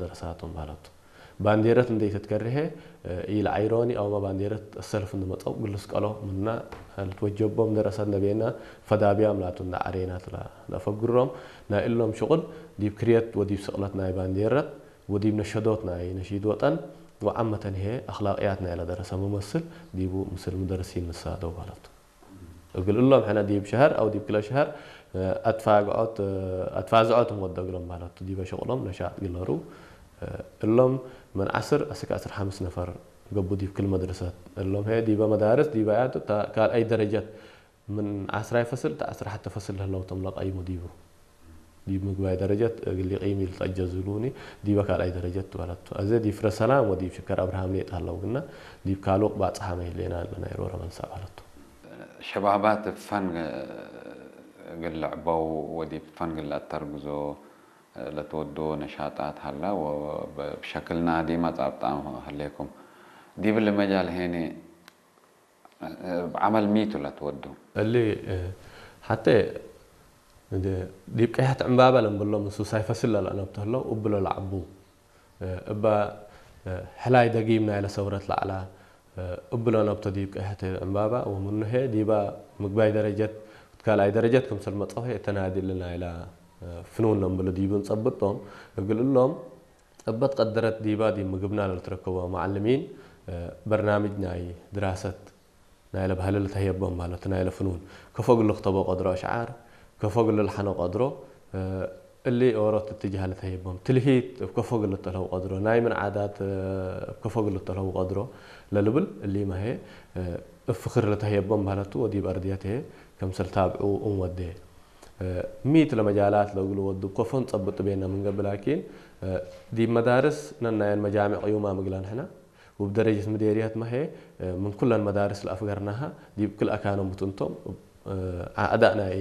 ደረሳቶም ማለት ባንዴረት እንዴት ትከርሄ ኢል ዓይሮኒ ኣውማ ባንዴረት ሰልፍ እንመጸው ግልስ ቀሎ ምና ልትወጀቦም ደረሳት ነበና ፈዳቢያም ላቱ እንዳ ዓሬናት ለፈግሮም ናይ እሎም ሽቁል ዲብ ክርየት ወዲብ ስቅለት ናይ ባንዴረት ወዲብ ነሸዶት ናይ ነሺድ ወጠን ወዓመተን ይሄ ኣኽላቅያት ናይ ለደረሰ መመስል ዲቡ ምስል ምደርሲን ንሳደው ማለት እግል እሎም ሕነ ዲብ ሸሀር ኣው ዲብ ክለ ሸሀር ኣትፋግዖት ኣትፋዝዖት ወደ እግሎም ማለት ዲበ ሽቁሎም ነሻጥ ግለሩ እሎም ምን ዓስር እስከ ዓስር ሓምስ ነፈር ገቡ ዲብ ክል መድረሰት እሎም ሄ ዲበ መዳርስ ዲበ ያቱ ካልኣይ ደረጀት ምን ዓስራይ ፈስል ታ ዓስራ ሓተ ፈስል ህለውቶም ለቀይሙ ዲቡ ዲብ ምግባይ ደረጀት እግል ቂም ኢል ተጀዝሉኒ ዲበ ካልኣይ ደረጀት ትበለቱ። እዚ ዲብ ፍረ ሰላም ወዲብ ሽከር ኣብርሃም ሌጥ ሃለው ግና ዲብ ካሉቅ ባጽሓ መይሌና ኣለና ይሮረ መንሳ በለቱ። ሸባባት ፈን እግል ልዕበው ወዲብ ፈን እግል ለአተርግዞ ለትወዶ ነሻጣት ሀላ ወብሸክል ናዲ መጻብጣ ሀሌኩም ዲብል መጃል ሄኒ ብዓመል ሚቱ ለትወዶ። እሊ ሓተ ዲብ ቀያሕት ዕምባባ ለንብሎም ንሱ ሳይፈስል ለለአነብተህለው እብሎ ለዓቡ እባ ሕላይ ደጊም ናይለ ሰውረት ለዓላ እብሎ ነብቶ ዲብ ቀሕተ ዕምባባ ወምኑሄ ዲባ ምግባይ ደረጀት ካልኣይ ደረጀት ክምሰል መጸውሄ እተናዲ እልና ኢላ ፍኑን ነምብሎ ዲቡ ንጸብጦም እግል እሎም እበት ቀደረት ዲባ ዲብ ምግብና ለልትረከቦ መዓልሚን በርናምጅ ናይ ድራሰት ናይለ ባህለ ልተህየቦም ማለት ናይለ ፍኑን ከፎ ግል ክተቦ ቀድሮ ኣሽዓር ከፎ ግል ልሓኖ ቀድሮ እሊ ኦሮት እትጅሃ ልተህየቦም ትልሂት እብ ከፎ ግል ተልሀው ቀድሮ ናይ ምን ዓዳት እብ ከፎ ግል ተልሀው ቀድሮ ለልብል እሊ ማሄ እብ ፍክር ልተህየቦም ባህለቱ ወዲብ ኣርድየት ሄ ከምሰል ታብዑ እም ወዴ ሚት ለመጃላት ለእግሉ ወዱ ከፎን ጸብጥ ቤና ምን ገብእ ላኪን ዲብ መዳርስ ነናየን መጃሚዕ ቅዩማ ምግላ ንሕና ውብ ደረጀት ምዴርያት ማሄ ምን ኩለን መዳርስ ለኣፍገርናሃ ዲብ ክል ኣካኖም ብትንቶም ኣእዳእ ናይ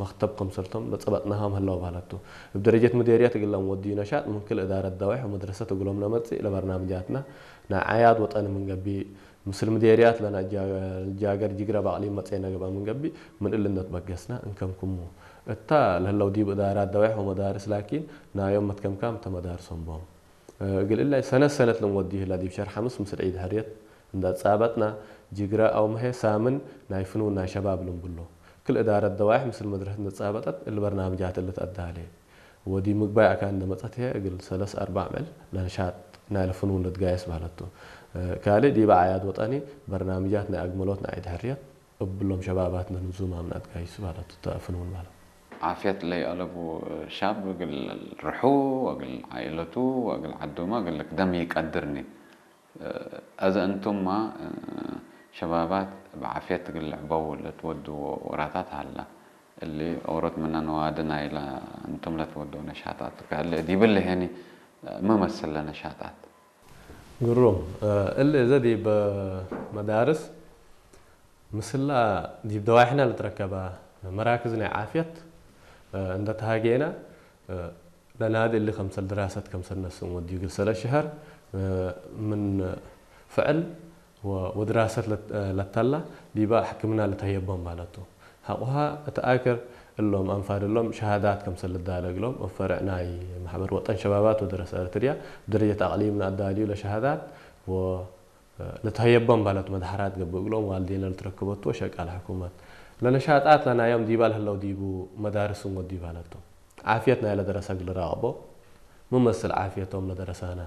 መክተብ ከምሰልቶም ለጸበጥናሃም ህለው ባለቱ። እብ ደረጀት ምዴርያት እግለም ወድዩ ነሻጥ ምን ክል እዳረት ደዋሕ ወመድረሰት እግሎም ለመጽእ ለበርናምጃትና ናይ ዓያድ ወጠን ምን ገቢ ምስል ምዴርያት ለና ጃገር ጅግረ ባቅሊ መጽኤ ነግባ ምን ገቢ ምን እልነት በገስና እንከምክሙ እታ ለህለው ዲብ እዳራት ደዋሕ ወመዳርስ ላኪን ናዮም መትከምካም ተመዳርሶም ቦም። እግል እላይ ሰነት ሰነት ልንወዲ ህላ ዲብ ሸር ሓምስ ምስል ዒድ ሕርየት እንዳጻበጥና ጅግረ ኣው መሀ ሳምን ናይ ፍኑን ናይ ሸባብ ልንብሎ ክል እዳረት ደዋይሕ ምስል መድረሰት እንዳጻበጠት እል በርናምጃት እልትኣዳሌ ወዲ ምግባይ ኣካን እንደመጸት ህየ እግል ሰለስ ኣርባዕ ምዕል ለንሻጥ ናይ ለፍኑን ልትጋየስ ባህለቱ ካልእ ዲበ ዓያድ ወጠኒ በርናምጃት ናይ ኣግመሎት ናይ ዒድ ሕርየት እብሎም ሸባባት ንንዙም ኣምናት ጋይሱ ባላት ተፍንውን ባላ። ዓፍየት ለይአለቡ ሻብ እግል ርሑ ወእግል ዓኢለቱ ወእግል ዓዶማ እግል ልክደም ይቀድርኒ። አዘ እንቱማ ሸባባት ብዓፍየት እግል ልዕበው ለትወድዎ ወራታት ሀላ። እሊ ኦሮት ምነ ነዋዲ ናይለ እንቱም ለትወድዎ ነሻጣት ከህለ ዲብል ሄኒ መመስል ለነሻጣት። ግሩም እሊ እዘ ዲብ መዳርስ ምስላ ዲብ ደዋይሕና ልትረከባ መራክዝ ናይ ዓፍየት እንደ ተሃጌና ለናዲ እሊ ከምሰል ድራሰት ከምሰል ነስን ወዲ ግል ሰለ ሽሀር ምን ፍዕል ወድራሰት ለተላ ዲባ ሕክምና ልተህየቦም ማለቱ። ሐቁሃ እት አክር እሎም አንፋድ እሎም ሸሃዳት ከምሰል ልዳለግሎም እብ ፈርዕ ናይ ማሕበር ወጠን ሸባባት ወደረሰ እርትርያ ብደረጀት አቅሊም ንአዳልዩ ለሸሃዳት ወ ልትሀየቦም ባለት መድሐራት ገብእ እግሎም ዋልዴነ ልትረክበቱ ወሸቃል ሕኩመት ለነሻጣት ለናዮም ዲባ ለህለው ዲቡ መዳርስ እንጎዲ ባለቱ። ዓፍየት ናይለ ደረሰ እግል ራቅቦ ምመስል ዓፍየቶም ለደረሳና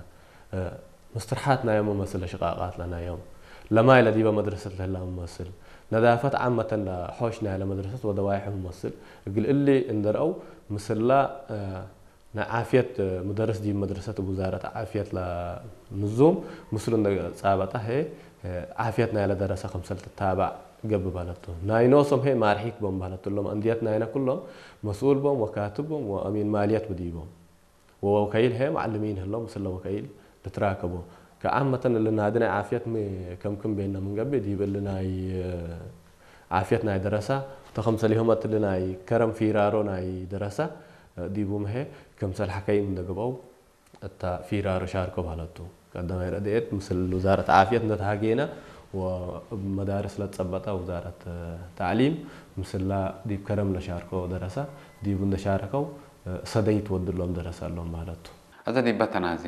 ምስትርሓት ናዮም ምመስል ለሽቃቃት ለናዮም ለማይ ለዲበ መድረሰት ለህላ ምመስል ነዳፈት ዓመተን ለሖሽ ናይለ መድረሰት ወደዋይሑ ምመስል እግል እሊ እንደርአው ምስላ ናይ ዓፍየት ምደርስ ዲብ መድረሰት እብ ውዛረት ዓፍየት ለንዙም ምስሉ እንደ ጻበጣ ሄ ዓፍየት ናይለ ደረሰ ከምሰል ትታባዕ ገብእ ባለቱ። ናይ ኖሶም ሄ ማርሒት ቦም ባለቱ እሎም እንድየት ናይነ ኩሎም መስኡል ቦም ወካትብ ቦም ወአሚን ማልየት ብዲቦም ወወከይል ሄ መዓልሚን ህሎም ምስለ ወከይል ልትራከቦ። ከዓመተን እሊ ናዲ ናይ ዓፍየት ሚ ከምክም ቤና ምንገብእ ዲብ እሊ ናይ ዓፍየት ናይ ደረሳ ተኸምሰሊሆመት እሊ ናይ ከረም ፊራሮ ናይ ደረሳ ዲቡ ምሄ ከምሰል ሓከይም እንደገብአው እታ ፊራሮ ሻርኮ ባህለቱ ቀዳማይ ረድኤት ምስል ውዛረት ዓፍየት እንደተሃጌና ወመዳርስ ለጸበጣ ውዛረት ታዕሊም ምስላ ዲብ ከረም ለሻርኮ ደረሳ ዲቡ እንደሻረከው ሰደይት ወድሎም ደረሳ ኣሎም ባህለቱ። እዚ ዲበ ተናዚ